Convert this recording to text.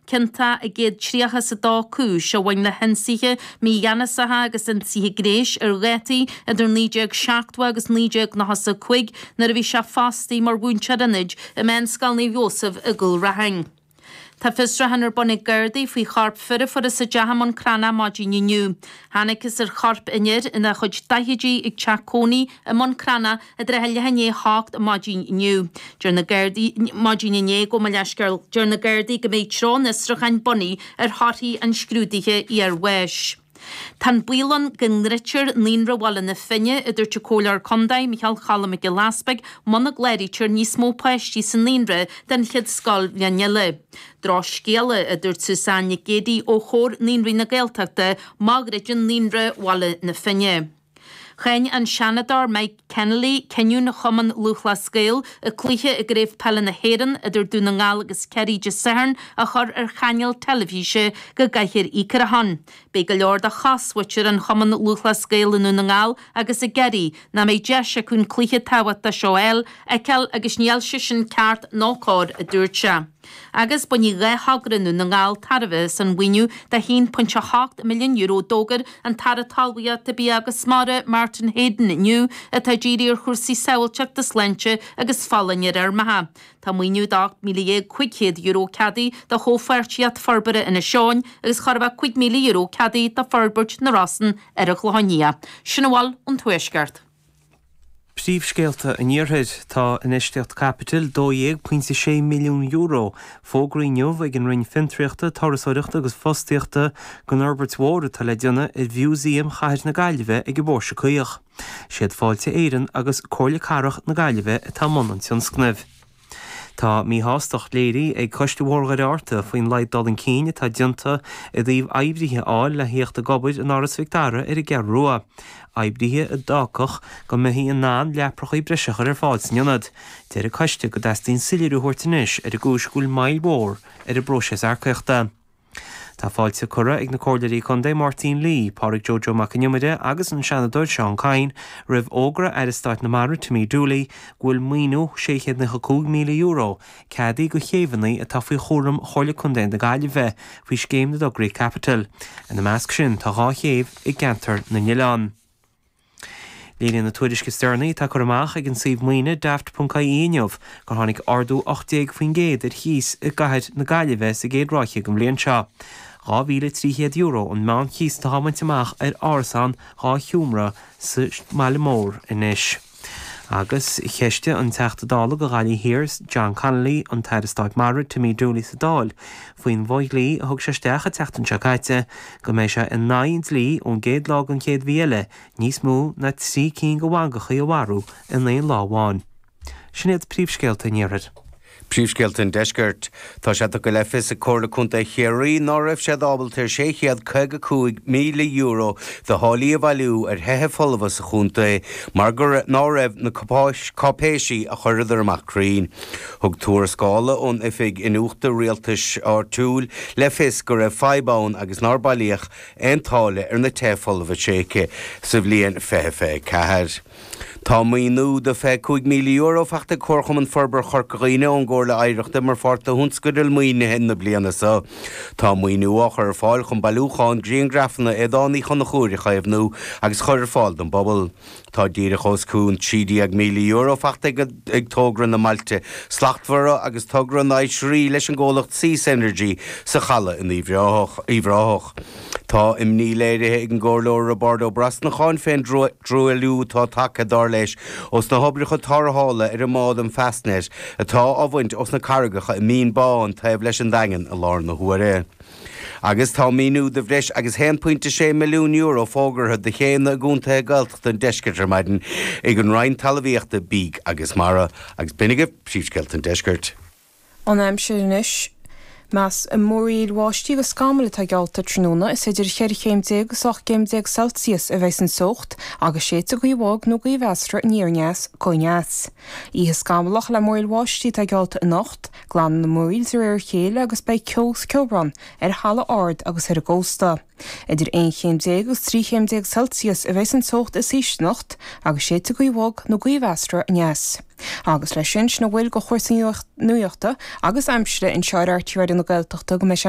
Ciontach i gcéad 30 is a dó cúis a bhain le hionsaithe mígheanasacha agus ionsaithe gnéis ar dhátaí idir 1970 agus 1995 nuair a bhí sé fostaithe mar mhúinteoir ionaid i Meánscoil Naomh Iósaf i gCúil Raithin. Tá fiosrúchán ar bun ag Gardaí faoi chorp fir a fuarthas i dteach i mBun Cranncha maidin inniu. Thángthas ar chorp an fhir ina chuid daichidí ag teach cónaí i mBun Cranncha i dtrátha leath i ndiaidh a hocht maidin inniu. Deir na Gardaí maidin inné, gabh mo leithscéal, deir na Gardaí go mbeidh treo an fhiosrúcháin bunaithe ar thorthaí an scrúdaithe iarbháis. Tá an baol ann go ndruidtear Naíonra Bhaile na Finne, a dúirt an Comhairleoir Contae, Micheál Cholm Mac Giolla Easpaig, muna gcláraítear níos mó páistí sa naíonra don chéad scoilbhliain eile. Drochscéala, a dúirt Suzanne Nic Géadaigh ó Chomhar Naíonraí na Gaeltachta, má dhruideann Naíonra Bhaile na Finne. Cháin an Seanadóir Mike Kennelly cinniúint Chumann Lúthchleas Gael an cluiche i gCraobh Peile na hÉireann idir Dún na nGall agus Ciarraí Dé Sathairn a chur ar chainéal teilifíse go gcaithfear íoc ar a shon. Beidh go leor de chosmhuintir an Chumann Lúthchleas Gael i nDún na nGall agus i gCiarraí nach mbeidh deis acu an cluiche tábhachtach seo a fheiceáil agus níl sé sin ceart nó cóir, a dúirt sé. Agus bainfidh 2 thogra i nDún na nGall tairbhe as an mhaoiniú de €1.8 milliún a d'fhógair an tAire Talmhaíochta, Bia agus Mara, Martin Heydon inniu, atá dírithe ar chúrsaí sábháilteachta, sláinte agus folláine ar fheirmeacha. Tá maoiniú de €18,500 ceadaithe do Chomhpháirtíocht Forbartha Inis Eoghain agus chóir a bheith €5,000 ceadaithe do Forbairt na Rosann ar an Chlochán Liath. Sin a bhfuil ón Tuaisceart. Príomhscéalta an Iarthair. Tá infheistíocht caipitil €12.6 milliún fógraithe inniu ag an Roinn Fiontraíochta, Turasóireachta agus Fostaíochta don fhorbairt mhór atá le déanamh ar Mhúsaem Chathair na Gaillimhe ag an bPóirse Caoch. Siad Fáilte Éireann agus Comhairle Cathrach na Gaillimhe atá i mbun an tionscnaimh. Tá míshástacht léirithe ag Coiste Bhóthar Dhoire Fhearta faoin laghad dul chun cinn atá déanta i dtaobh oibrithe a fháil le thíocht ag obair in Áras Mhic Dara ar an gCeathrú Rua, oibrithe a d'fhágfadh go mbeifí in ann leaprachaí breise a chur ar fáil san ionad. Deir an coiste go dteastaíonn soiléiriú a thabhairt anois ar an gcúis go bhfuil moill mhór ar an bpróiseas earcaíochta. Tá fáilte curtha ag na Comhairleoirí Contae Máirtín Lee, Pádraig Joe Joe Mac an Iomaire agus an Seanadóir Seán Kyne roimh fhógra Aire Stáit na Mara Timmy Dooley go bhfuil maoiniú €695,000 ceadaithe do chéibheanna atá faoi chúram Chomhairle Contae na Gaillimhe faoi Scéim na dTograí Caipitil. Ina measc sin tá 2 chéibh i gCeantar na nOileán. Léiríonn an tuairisc is deireanaí atá curtha amach ag an suíomh maoine Daft.ie inniu gur tháinig ardú 18% ar chíos i gcathair na Gaillimhe sa gcéad ráithe den bhliain seo. €2,300 an meánchíos atá á bhaint amach ar árasán 2 sheomra sa mbaile mór anois. Agus cheistigh an Teachta Dála do Ghaillimh Thiar, John Connolly, an tAire Stáit Mara, Timmy Dooley sa Dáil faoin bhfo-dhlí a thug sé isteach an tseachtain seo caite go mbeidh sé in aghaidh an dlí ón gcéad lá den chéad mhí eile níos mó ná 3 cinn de mhangachaí a mharú in aon lá amháin. Sin iad príomhscéalta an Iarthair. Príomhscéalta an Deiscirt. Tá sé tugtha le fios ag Comhairle Contae Chiarraí ná raibh siad ábalta ar €655,000 de tháillí a bhailiú ar thithe folmha sa chontae mar go ná raibh na cáipéisí a chuireadar amach cruinn. Thug tuarascála ón Oifig Iniúchta Rialtais Áitiúil le fios go raibh fadhb ann agus nár bailíodh aon táille ar na tithe folmha tréigthe sa bhliain 2024. Tá maoiniú de €25,000 faighte ag Comharchumann Forbartha Chorca Dhuibhne ón gComhairle Oidhreachta mar pháirt de thionscadal maoinithe na bliana seo. Tá maoiniú á chur ar fáil chun bailiúchán grianghrafanna Aodáin Uí Chonchúir a chaomhnú agus a chur ar fáil don bpobal. Tá díreach os cionn €13,000 faighte ag Togra na mBailte Slachtmhara agus Togra na nOisrí leis an gcomhlacht Seas Energy sa Chaladh in Uíbh Ráthach. Tá imní léirithe ag an gComhairleoir Roibeárd Ó Brosnacháin fén dtruailliú atá tagtha, dar leis, ós na hoibreacha tarrthála ar an mbád an Fastnet atá á bhaint ós na carraigeacha i Mín Bán taobh leis an Daingean i láthair na huaire. Agus tá maoiniú de bhreis agus €1.6 milliún fógartha do chéanna i gcontaetha Gaeltachta an deiscirt ar maidin ag an Roinn Talmhaíochta, Bídh agus Mara. Agus b'in agaibh príomhscéalta an deiscirt. An aimsir anois. Meas múraíl bháistí agus scamaill atá geallta tráthnóna. Is idir cheithre chéim déag agus 18 gcéim Celsius a bheidh an teocht agus séidfidh gaoth bhog nó gaoth mheasartha aniar aneas go aneas. Oíche scamallach le múraíl bháistí atá geallta anocht. Glanfaidh na múraíl de réir a chéile agus beidh ceo is ceobhrán ar thalamh ard agus ar an gcósta. Idir 11 chéim agus 13 chéim Celsius a bheidh an teocht is ísle anocht agus séidfidh gaoth bhog nó gaoth mheasartha aneas. Agus leis sin, sin a bhfuil de chúrsaí nuachta agus aimsire anseo ar RTÉ Raidió na Gaeltachta go mbeidh sé.